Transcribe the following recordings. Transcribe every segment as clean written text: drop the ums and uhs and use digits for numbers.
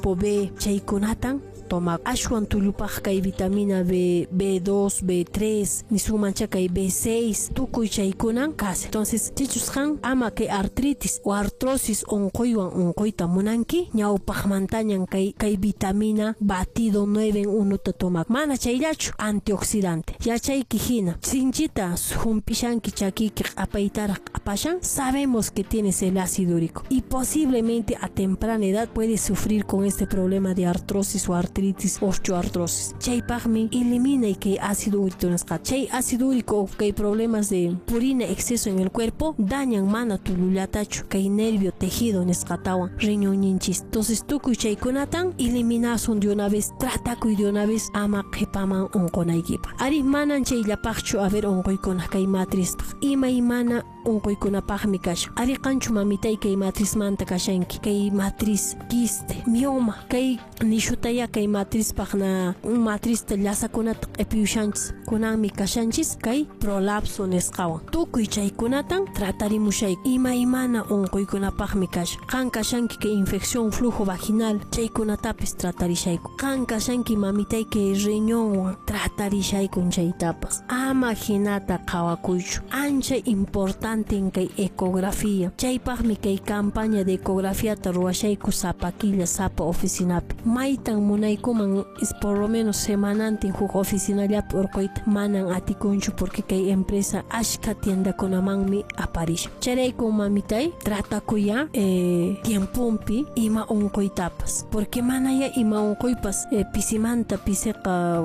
B chaykunatan toma. Ashwan tullupaq kay vitamina B, B2, B3, nisunmancha kay B6, tukuy chaykunan kashan. Entonces, sichus qan ama kay artritis o artrosis unquywan unquyta munanki, ñawpaqmantañan kay vitamina batido 9 en 1 ta tomak. Mana chayllachu, antioxidante. Yachayki hina, sinchita hump'ishanki chakiyki q'apaytaraq q'apashan, sabemos que tienes el ácido úrico y posiblemente a temprana edad puedes sufrir con este problema de artrosis o artritis, osteoartrosis. Chaypaqmi elimina kay ácido úrico nisqa. Chay ácido úrico kay problemas de purina exceso en el cuerpo dañan mana tullullatachu kay nervio tejido nisqatawan riñonninchis. Entonces tukuy chaykunatan eliminasun de una vez, tratakuy de una vez ama qhipaman unqunaykipaq. Ari manan chayllapaqchu, a ver, unquykuna kay matrispaq. Imaymana unquykunapaqmi kashan. Ari qanchu, mamitay, kay matrismanta kashanki, kay matriz quiste, mioma, kay nishutaya kay matrispaq na matrista llasakunata q'ipiyushanchis, kunanmi kashanchis kay prolapso nisqawan. Tukuy chaykunatan tratarimushayku. Imaymana unquykunapaqmi kashan. Qan kashanki kay infección flujo vaginal, chaykunatapis tratarishayku. Qan kashanki, mamitay, kay riñonwan, tratarishaykun chaytapas. Ama hinata qhawakuychu. Ancha importante kay ecografía. Chaypaqmi kay campaña de ecografiata ruwashayku sapa killa sapa oficinapi. Maytan munaykuman es por lo menos semanantin huk oficinallapi urquyta, manan atikunchu porque kay empresa ashka tiendakunamanmi aparishan. Chayrayku, mamitay, tratakuya tiemponpi ima unquytapas, porque manaya ima unquypas pisimanta pisiqa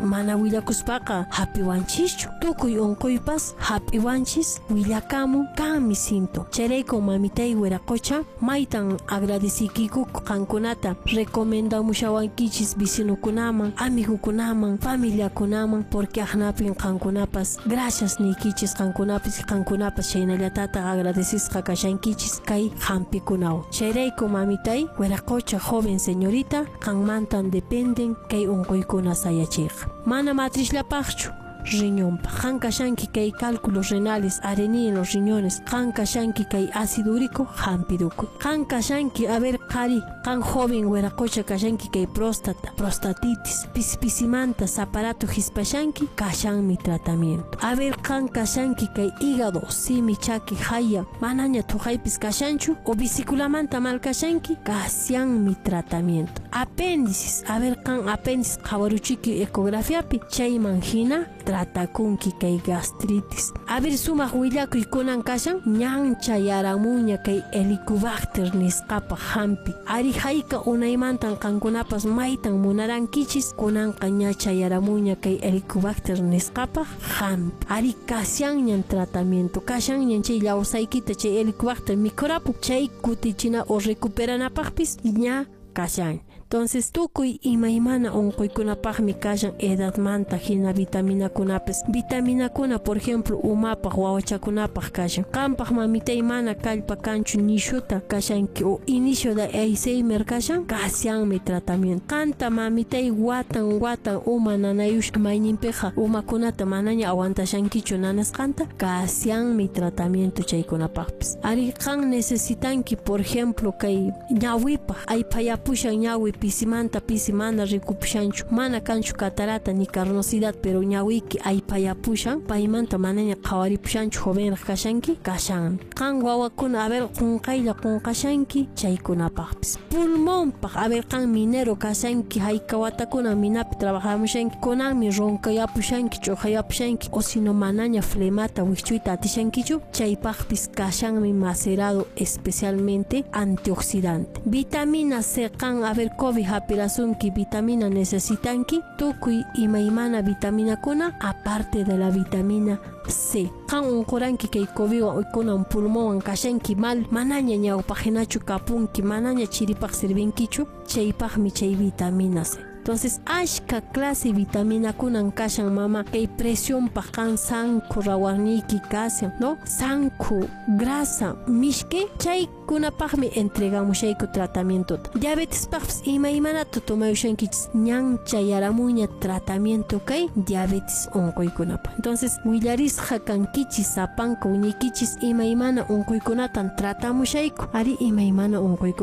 mana willakuspaqa hap'iwanchischu. Tukuy unquypas hap'iwanchis, willakamun, kanmi síntoma. Chayrayku, mamitay wiraqocha, maytan agradeciykiku qankunata recomendamushawankichis vecinokunaman, amigukunaman, familiakunaman, porque aqnapin qankunapas gracias niykichis, qankunapas chaynallatataq agradecisqa kashankichis kay hampikunawan. Chayrayku, mamitay wiraqocha, joven señorita, qanmantan dependen kay unquykuna sayachiyqa. Mana matrisllapaqchu, riñonpaq. Qan kashanki kay cálculos renales, arenilla en los riñones, qan kashanki kay ácido úrico, hampirukuy. Qan kashanki, a ver, qhari, qan joven wiraqocha kashanki kay próstata, prostatitis, pisi pisimanta aparato hispashanki, kashanmi tratamiento. A ver, qan kashanki kay hígado, simi, chaki, haya, manaña thuqaypis kashanchu o vesículamanta mal kashanki, kashanmi tratamiento. Apéndices, a ver, qan apéndice qhawaruchiki ecografiapi, chayman hina tratakunki kay gastritis. A ver, sumaq willakuy kunan kashan, ñan chayaramuña kay Helicobacter nisqapaq hampi. Ari hayka unaymantan qankunapas maytan munarankichis, kunanqa ña chayaramuña kay Helicobacter nisqapaq hampi. Ari kashanñan tratamiento, kashanñan chay llawsaykita chay Helicobacter mikhurapu, chay kutichina o recuperanapaqpis ña kashan. Entonces, tukuy imaymana unquykunapaqmi kashan edadmanta hina vitaminakunapis. Vitaminakuna, por ejemplo, umapaq, wawachakunapaq kashan. Qampaq, mamitay, mana kallpa kanchu, nishuta kashanki o inicio de Alzheimer kashan, kashanmi tratamiento. Qanta, mamitay, watan watan uma nanayush, mayninpiqa umakunata manaña aguantashankichu nanasqanta, kashanmi tratamiento chaykunapaqpis. Ari qan necesitanki, por ejemplo, kay ñawipaq, ayphayapushan ñawi pisimanta pisi, mana rikupushanchu, mana kanchu catarata ni carnosidad, pero ñawiyki aypayapushan, paymanta manaña qhawaripushanchu, jovenraq kashanki, kashanmi. Qan wawakuna, a ver, qunqaylla qunqashanki, chaykunapaqpis. Pulmonpaq, a ver, qan minero kashanki, hayka watakuna minapi trabajamushanki, kunanmi roncayapushanki, ch'uqayapushanki, o sino manaña flemata wikchuyta atishankichu, chaypaqpis kashanmi macerado especialmente antioxidante. Vitamina C, qan, a ver, COVID hap'irasunki, vitamina necesitanki, tukuy imaymana vitaminakuna aparte de la vitamina C. Qan unquranki kay COVIDwan, kunan pulmonwan kashanki mal, manaña ñawpaq kapunki, manaña chiripaq sirvinkichu, chaypaqmi chay vitamina C. Entonces, ashka clase vitaminakunan kashan, mama, kay presionpaq qan sankhu rawarniyki kashan, ¿no? Sankhu, grasa, mishki, chaykunapaqmi entregamushayku tratamientota. Diabetespaqpis imaymanata tomayushankichis, ñan chayaramuña tratamiento kay diabetes unquykunapaq. Entonces, willarisqa kankichis sapanka uñaykichis imaymana unquykunatan tratamushayku. Ari imaymana unquykunata.